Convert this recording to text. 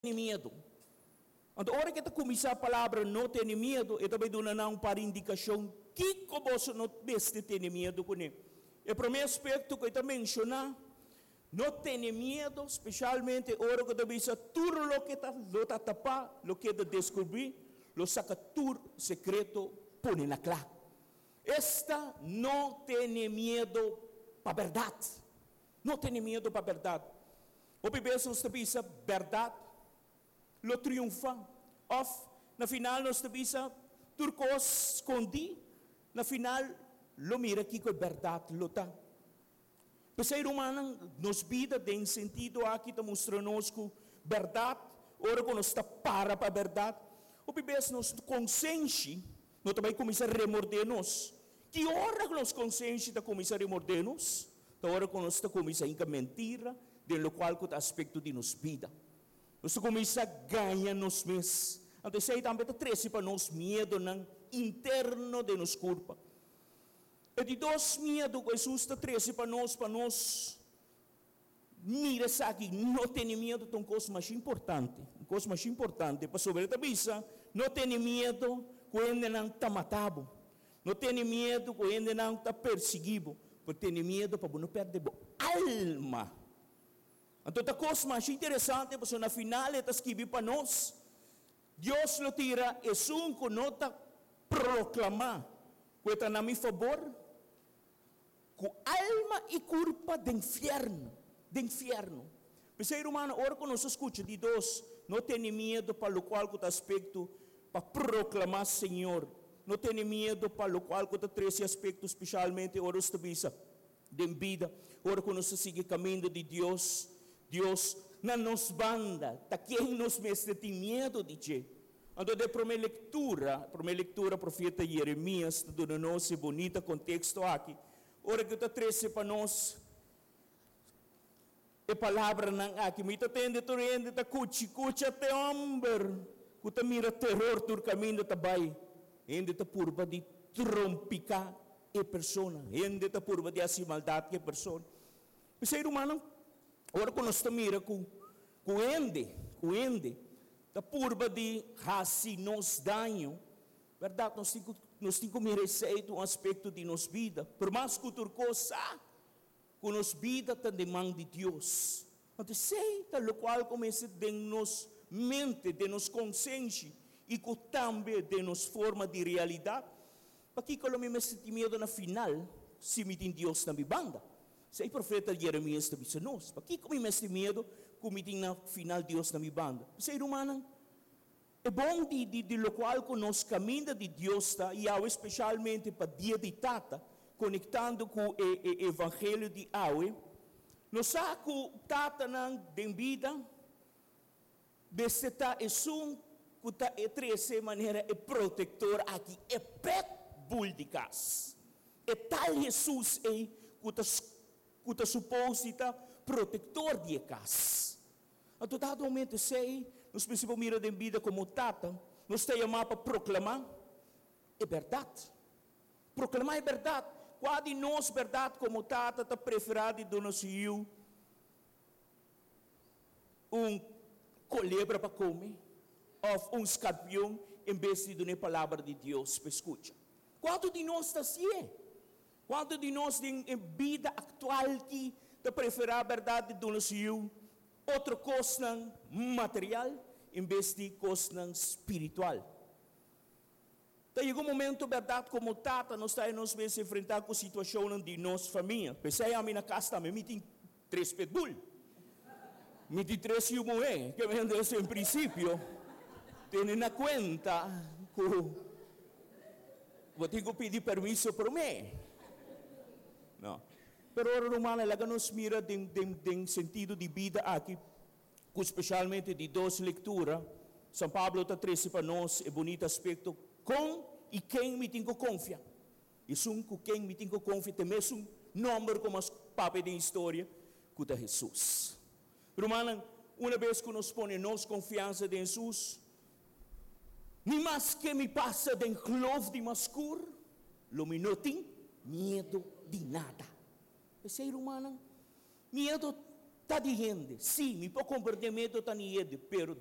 Tene miedu. Anto ora ku e ta kuminsá palabra no tene miedu, e ta bai duna nan un par indikashon kiko boso no mester tene miedu kuné. E promé aspekto ku e ta menshoná, no tene miedu, speshalmente ora ku ta bisa tur loke ta lo ta tapá lo keda deskubrí, lo saka tur sekreto pone na kla. Esta no tene miedu pa bèrdat. No tene miedu pa bèrdat. Hopi bes nos ta bisa bèrdat lo triunfá. Òf na final nos ta bisa tur kos skondí, na final lo mira kiko e bèrdat lo ta. P'esei rumannan, nos bida den sentido aki ta mustra nos ku bèrdat, ora ku nos ta para pa bèrdat, hopi bes nos konsenshi no ta bai kuminsá remordé nos. Ki ora ku nos konsenshi ta kuminsá remordé nos? Ta ora ku nos ta kuminsá hinka mentira den lokual ku ta aspekto di nos bida. Nos ta kuminsá gaña nos mes. Anto esei tambe ta trese pa nos miedonan interno den nos kurpa. E di dos miedu ku Hesus ta trese pa nos pa nos mira esaki, no tene miedu ta un kos masha importante, un kos masha importante, pasobra e ta bisa, no tene miedu ku hendenan ta mata bo, no tene miedu ku hendenan ta persiguí bo, pero tene miedu pa bo no pèrdè bo alma. Anto ta kos masha interesante pasobra na final e ta skibi pa nos, Dios lo tira esun ku no ta proklamá ku e ta na mi fabor, Ku alma i kurpa den fièrnu, den fièrnu. P'esei, rumannan, ora ku nos a skucha di dos, no tene miedu pa lokual ku ta aspekto pa proklamá Señor. No tene miedu pa lokual ku ta trese aspekto, speshalmente ora nos ta bisa den bida, ora ku nos ta sigui kaminda di Dios, Dios na nos banda, ta ken nos mester tin miedu di dje? Anto den promé lektura, promé lektura profeta Jeremias ta duna nos e bunita konteksto aki, ora ku e ta trese pa nos e palabranan aki, Mi ta tende tur hende ta kuchi kucha te hòmber ku ta mira teror tur kaminda ta bai. Hende ta purba di trompiká e persona, hende ta purba di hasi maldat ku e persona. P'esei, rumannan, ora ku nos ta mira ku ku hende, ku hende ta purba di hasi nos daño, bèrdat, nos tin ku nos tin ku mira esei ta un aspekto di nos bida. Pero mas ku tur kos, sa ku nos bida ta den man di Dios. Anto esei ta lokual ku mester den nos mente, den nos konsenshi i ku tambe den nos forma di realidat. Pakiko lo mi mester tin miedu na final si mi tin Dios na mi banda? Esei profeta Jeremias ta bisa nos. Pakiko mi mester miedu ku mi tin na final Dios na mi banda? P'esei, rumannan, e bon di di di lokual ku nos kaminda di Dios ta, i awe speshalmente pa Dia di Tata, konektando ku e e evangelio di awe, nos sa ku tatanan den bida mester ta esun ku ta e trese manera e protektor aki, e pet bull di kas. E tal Hesus ei ku ta ku ta supos di ta protektor di e kas. Anto dado momento esei, nos mester por mira den bida komo tata, nos ta yamá pa proklamá e bèrdat. Proklamá e bèrdat. Kua di nos bèrdat komo tata ta preferá di duna su yu un kolebra pa kome òf un skarpion en bes di duna e palabra di Dios pa e skucha. Kuantu di nos ta hasié? Kuantu di nos den e bida aktual ki ta preferá bèrdat di duna su yu otro kosnan material en bes di kosnan spiritual? Ta yega un momento bèrdat komo tata nos ta nos mes enfrentá ku situashonnan di nos famia. P'esei ami na kas tambe mi tin tres pitbull. Mi tin tres yu muhé. Ke men des en prinsipio tene na kuenta ku bo tin ku pidi permiso promé. No. Pero ora rumannan laga nos mira den den den sentido di bida aki. Ku speshalmente di dos lektura, San Pablo ta trese pa nos e bunita aspekto kon i ken mi tin ku konfia. Esun ku ken mi tin ku konfia ta e mesun nòmber ku mas papia den historia, ku ta Hesus. Rumannan, una bes ku nos pone nos konfiansa den Hesus, ni maske mi pasa den kloof di mas skur, lo mi no tin miedu di nada. P'esei, rumannan, miedu. Ta di hende. Sí, mi por komprondé miedu ta di hende, pero